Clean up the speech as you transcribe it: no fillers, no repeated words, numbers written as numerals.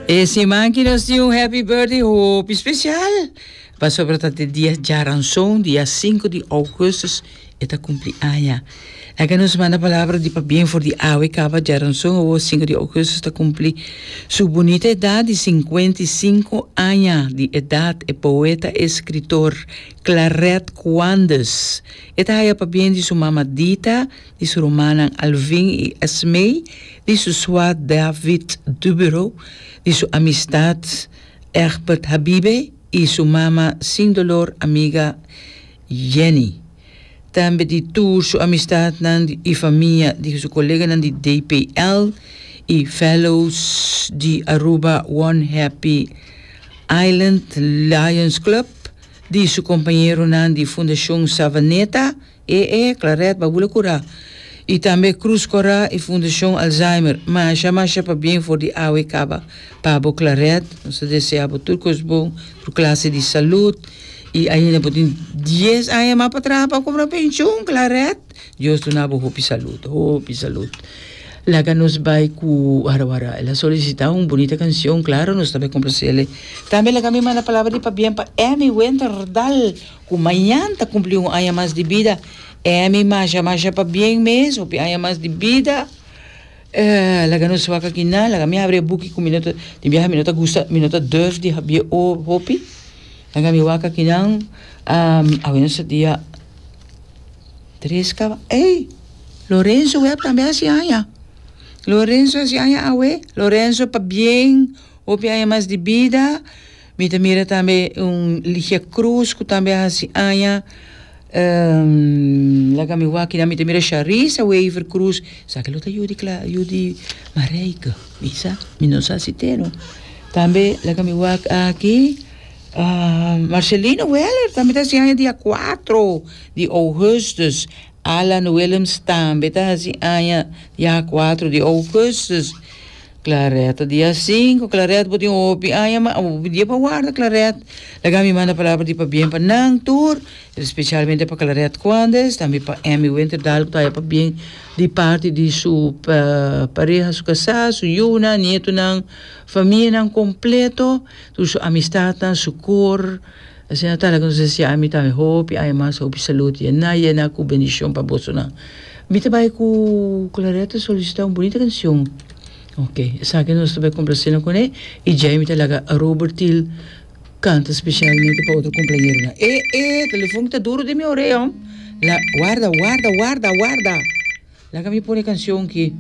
E siman ki nos tin un happy birthday hopi special. Pasobra ta te dia djaranson, dia 5 di augustus, e ta cumpli aña. Laga nos manda palabra di pabien for di awe caba djaranson awo 5 di augustus ta cumpli su bunita edad di 55 aña di edad e poeta escritor Claret Quandes. E ta haya pabien di su mama Dita, di su rumannan Alvin i Esmee, di su swa David Dubero, di su amistad Egbert Habibe i su mama sin dolor amiga Jenny. Tambe di tur su amistadnan i famia, di su koleganan di DPL i fellows di Aruba One Happy Island Lions Club, di su kompañeronan di Fundashon Savaneta, E e, Claret, Babula Curá. I tambe Cruz Corá i Fundashon Alzheimer. Masha masha pabien for di awe kaba pa bo Claret. Nos ta desea bo tur kos bon, tur klase di salud. I ainda bo tin dies aña mas pa traha pa kobra penshun, Claret. Dios duna bo hopi salud, hopi salud. Laga nos bai ku wara wara. El a solisitá un bunita kanshon, klaro nos ta bai komplasel'e. Tambe laga mi manda palabra di pabien pa Emmy Winterdal. Ku mañan ta kumpli un aña mas di bida. Emi masha masha pabien mes, hopi aña mas di bida. Laga nos wak aki nan, laga mi habri e buki ku mi no ta, tin biaha mi no ta gusta, mi no ta durf di habié hopi. Laga mi wak aki nan, awe nos ta dia tres kaba, ey! Lorenzo Webb tambe hasi aña. Lorenzo hasi aña awe. Lorenzo pabien, hopi aña mas di bida. Mi ta mira tambe un Ligia Cruz ku tambe a hasi aña. Laga mi wak kinan mi ta mira Sharissa Wever Cruz. Esaki lo ta yu di Cla yu di Marijke. Mi sa, mi no sa si te no. Tambe laga mi wak aki Marcelino Weller tambe ta hasi aña dia cuatro di augustus. Alan Willems tambe ta hasi aña dia cuatro di augustus. Claret ta dia sinku, Claret bo tin hopi aña ma hopi dia pa warda Claret. Laga mi manda palabra di pabien pa nan tur, especialmente pa Claret Cuandes, tambe pa Emmy Winterdal ku ta haya pabien di parti di su pareha, su kasá, su yunan, nietonan, famianan kompleto, tur su amistatnan, su kor. Asina ta laga nos deseá mi tambe hopi aña mas, hopi salud yená yená ku bendishon pa bosonan. Mi ta bai ku Claret ta solisitá un bunita kanshon. Ok, esaki nos ta bai komplasénan kuné i djei mi ta laga Robert Thiel kanta spesialmente pa otro kumpleañeronan. E e telefon ta duru den mi orea. La warda warda warda warda. Laga mi pone kanshon ki.